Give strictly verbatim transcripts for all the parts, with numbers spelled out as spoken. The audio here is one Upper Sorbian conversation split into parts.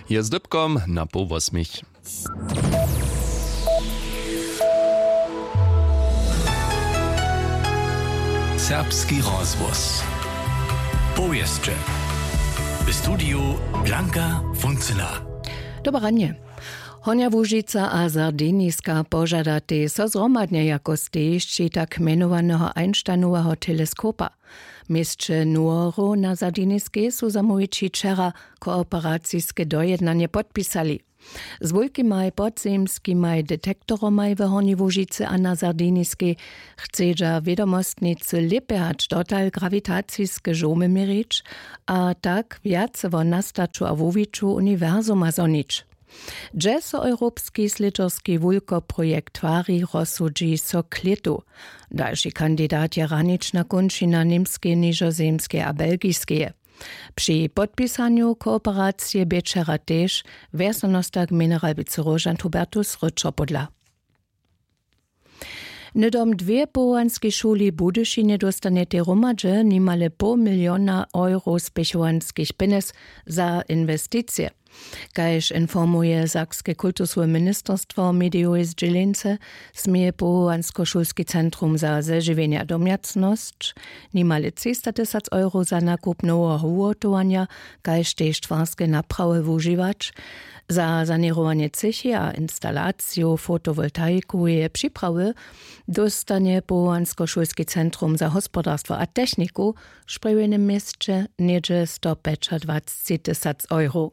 Je z dypkom na poł wosmich. Serbski rozhłos. Powěsće. W studiju Blanka Funcyna. Dobre ranje. Hornja Łužica a Sardiniska požadatej so zhromadnje jako stejišći tak mjenowaneho Einsteinoweho teleskopa. W měsće Nuoro na Sardiniskej su zamołwići wčera kooperaciske dojednanje podpisali. Z wulkimaj podzemskimaj detektoromaj w Hornjej Łužicy a na Sardiniskej chcedźa wědomostnicy lěpje hač dotal grawitaciske žołmy měrić a tak wjace wo nastaću a wuwiću uniwersuma zhonić. Hdźe so europski slědźerski wulkoprojekt twari, rozsudźi so k lětu. Dalši kandidat je hranična kónčina Němskeje, Nižozemskeje a Belgiskeje. Při podpisanju kooperacije bě wčera tež wjesnjanostak generalwicy róžant Hubertus Ryczo podla. Hnydom dwě powołanskej šuli w Budyšinje dóstanjetej hromadźe nimale poł miliona euro spěchowanskich pjenjez za inwesticije. Kaž informuje sakske kultusowe ministerstwo w medijowej zdźěleńce, směje powołanskošulski centrum za zežiwjenje a domjacnosć nimale třista tysac euro za nakup noweho wuhotowanja kaž tež twarske naprawy wužiwać. Za saněrowanje třěchi a instalaciju fotowoltaikoweje připrawy dóstanje powołanskošulski centrum za hospodarstwo a techniku w sprjewjenym měsće něhdźe stopjećadwacci tysac euro.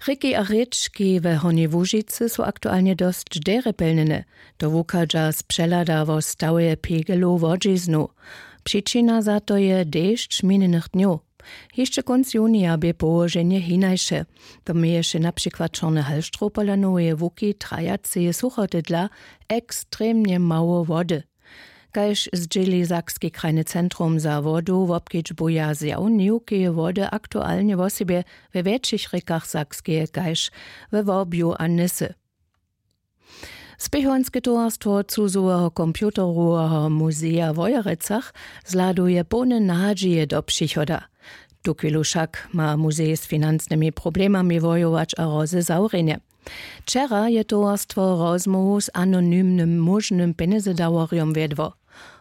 Rěki a rěčki we Hornjej Łužicy su aktualnje dosć derje pjelnjene. To wuchadźa z přehlada wo stawje pegelow wodźiznow. Přičina za to je dešć minjenych dnjow. Hišće kónc junija bě połoženje hinaše. To měješe na přikład čorny halštrow pola noweje łuki trajaceje suchoty dla ekstremnje mało wody. Kaž zdźěli sakski krajny centrum za wodu wobkedźbuja zjaw niwkeje wody aktualnje wosebje we wjetšich rěkach sakskeje kaž we worbju a nysy. Spěchowanske towarstwo cuzoweho computeroweho muzeja w wojerecach zhladuje połne nadźije do přichoda. Tuchwilu wšak ma muzej z financnymi problemami wojować a hrozy zawrjenje. Wčera je towarstwo rozmołwu z anonymnym móžnym pjenjezedaworjom wjedło.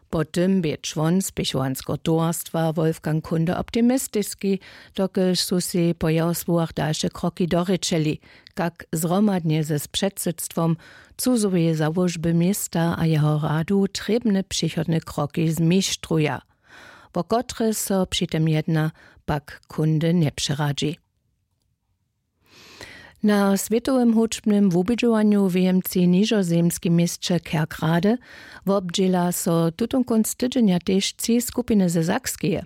Po tym bě čłon spěchowanskeho towarstwa wolfgang kunde optimistiski, dokelž su sej po jeho słowach dalše kroki dorěčeli, kak zhromadnje z předsydstwom cuzoweje załožby města a jeho radu trěbne přichodne kroki zmištruja. Wo kotre so při tym jedna, pak kunde njepřeradźi. Na swětowym hudźbnym wubědźowanju w jemcej nižozemskim měsće kerkrade wobdźěla so tutón kónc tydźenja tež tři skupiny ze sakskeje.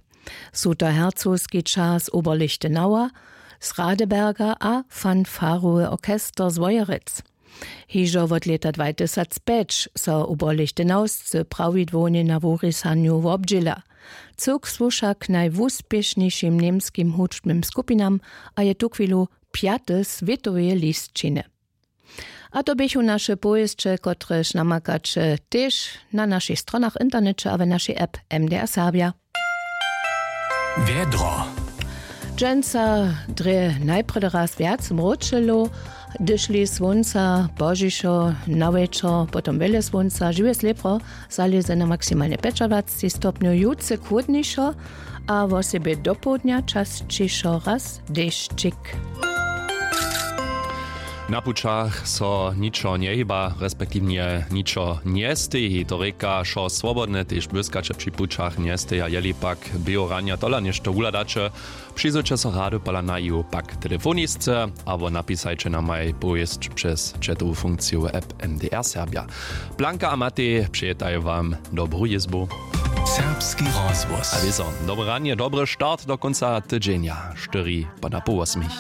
Su to hercowski čas oberlichtenauer z radeberga a fanfarowy orchester z wojerec. Hižo wot lěta dwatysacpjeć so oberlichtenaurscy prawidłownje na wurisanju wobdźěla. Cyłk słuša k najwuspěšnišim němskim hudźbnym skupinam a je tuchwilu pjaty swětoweje lisćiny. A to běchu naše powěsće, kotrež namakaće tež na našich stronach w interneće a w našej app mdr serbja. Wjedro. Dźensa drje najprjedy raz wjac mróčelo, hdyžli słónca pozdźišo na wječor potom wjele słónca žiwje slěpro, zalěze na maksimalnje pjećadwacci stopnjow, jutře chłódnišo a wosebje dopołdnja časćišo raz dešćik. Na pućach so ničo njehiba respektiwnje ničo njesteji, to rěka wšo swobodne, tež błyskaće při pućach njesteja, jeli pak běhu ranja tola něšto wuhladaće, přizwěće so rady pola naju pak telefonisce abo napisajće namaj powěsć přez chatowu funkciju w app mdr serbja. Blanka a matej přejetaj wam dobru jězbu. Serbski rozhłos a wězo, dobre ranje, dobry start do kónca tydźenja, štyri poda poł wosmich.